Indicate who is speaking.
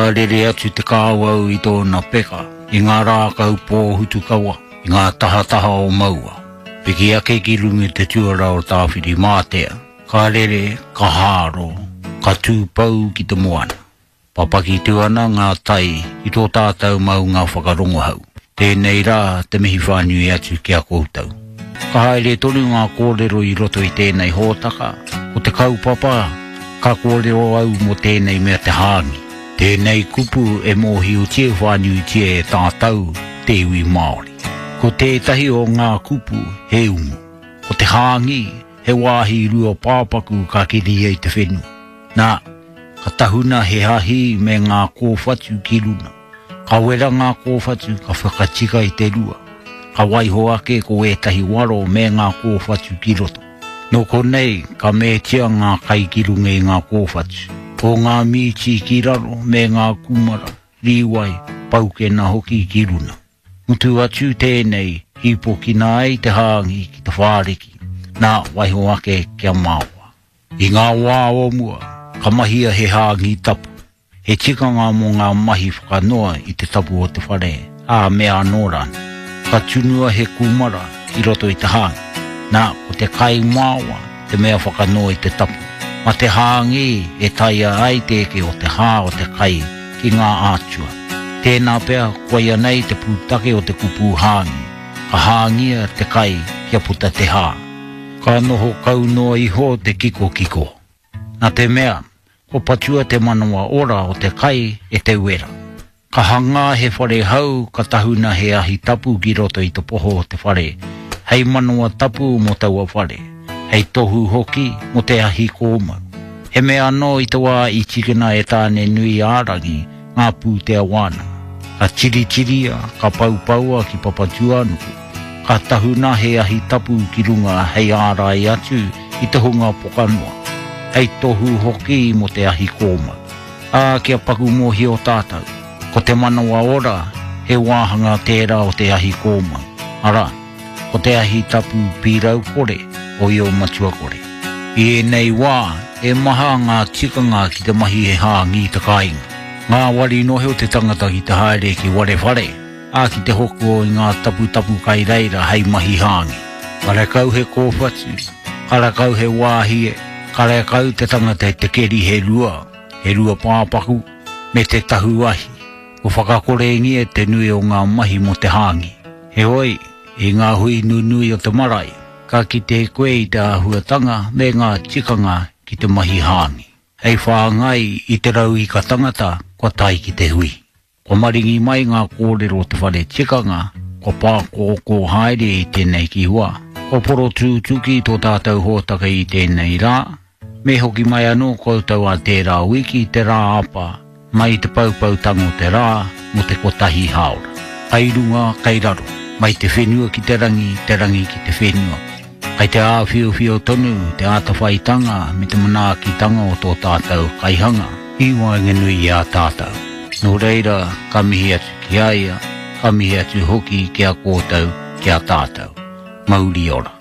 Speaker 1: Ka rere atu te kāwau i tōna peka i ngā rākau pōhutukawa i ngā tahataha o Maua. Piki ake ki runga i te tuara o Tāwhirimātea, ka rere, ka hāro, ka tūpou ki te moana. Papaki tū ana ngā tai i tō tātou maunga whakarongohau. Tēnei rā te mihi whānui atu ki a koutou. Ka haere tonu ngā kōrero i roto i tēnei hōtaka, ko te kaupapa ka kōrero au mō tēnei mea te hāngi. Tēnei kupu e mōhiotia whānuitia e tātou te iwi Māori. Ko tētahi o ngā kupu he umu. Ko te hāngi he wāhi rua pāpaku ka keria i te whenua. Nā, ka tahuna he ahi me ngā kōwhatu ki runa. Ka wera ngā kōwhatu ka whakatika i te rua. Ka waiho ake ko ētahi waro me ngā kōwhatu ki roto. Nō konei ka mētia ngā kai ki runga i ngā kōwhatu. Ko ngā mīti ki raro me ngā kūmara, rīwai, paukena hoki ki runa. Mutu atu tēnei, hīpokina ai te hāngi ki te whāriki, nā, waiho ake kia maoa. I ngā wā o mua, ka mahia he hāngi tapu, he tikanga mō ngā mahi whakanoa i te tapu o te whare, ā, mea anō rānei. Ka tunua he kūmara i roto i te hāngi. Nā, ko te kai maoa te mea whakanoa i te tapu. Mā te hāngi e taea ai te eke o te hā o te kai ki ngā ātua. Tēnā pea koia nei te pūtake o te kupu hāngi, ka hāngia te kai kia puta te hā. Ka noho kau noa iho te kikokiko. Nā te mea, kua patua te manawa ora o te kai e te wera. Ka hangā he whare hou ka tahuna he ahi tapu ki roto i te poho o te whare, hei manawa tapu mō taua whare, hei tohu hoki mō te ahi kōmau. He mea anō i te wā i tīkina e Tāne-nui-ā-rangi ngā pūtea wānanga. Ka tiritiria, ka poupoua ki Papatūānuku, ka tahuna he ahi tapu ki runga hei ārai atu i te hunga pokanoa, hei tohu hoki mō te ahi kōmau. Ā, kia paku mōhio tātou, ko te manawa ora he wāhanga tērā o te ahi kōmau, arā, ko te ahi tapu pīrau kore o Io Matua Kore. I ēnei wā, e maha ngā tikanga ki te mahi he hāngī te kāinga. Ngāwari noa te tangata ki te haere ki Warewhare, ā, ki te hoko i ngā taputapu kai reira hei mahi hāngī. Karekau he kōwhatu, karekau he wāhie, karekau te tangata i te keri he rua, he rua pāpaku, me te tahu ahi. Kua whakakorengia te nui o ngā mahi mō te hāngī. Heoi, i ngā hui nunui o te marae, ka kite koe i te āhuatanga me ngā tikanga ki te mahi hāngī, hei whāngai i te rauika tangata kua tae ki te hui. Kua maringi mai ngā kōrero o te whare tikanga, kua pākōkō haere i tēnei ki hua. Kua porotūtuki tō tātou hōtaka i tēnei rā, Me hoki mai anō koutou ā tērā wiki, te rā apa, mai i te poupoutanga o te rā, mō te kotahi hāora. Kai runga, kai raro, mai te whenua ki te rangi, te rangi ki te whenua. Kai te āwhiowhio tonu te ātawhaitanga me te manaakitanga o tō tātou Kaihanga i waenganui i a tātou. Nō reira, ka mihi atu ki a ia, ka mihi atu hoki ki a koutou, ki a tātou. Mauri ora.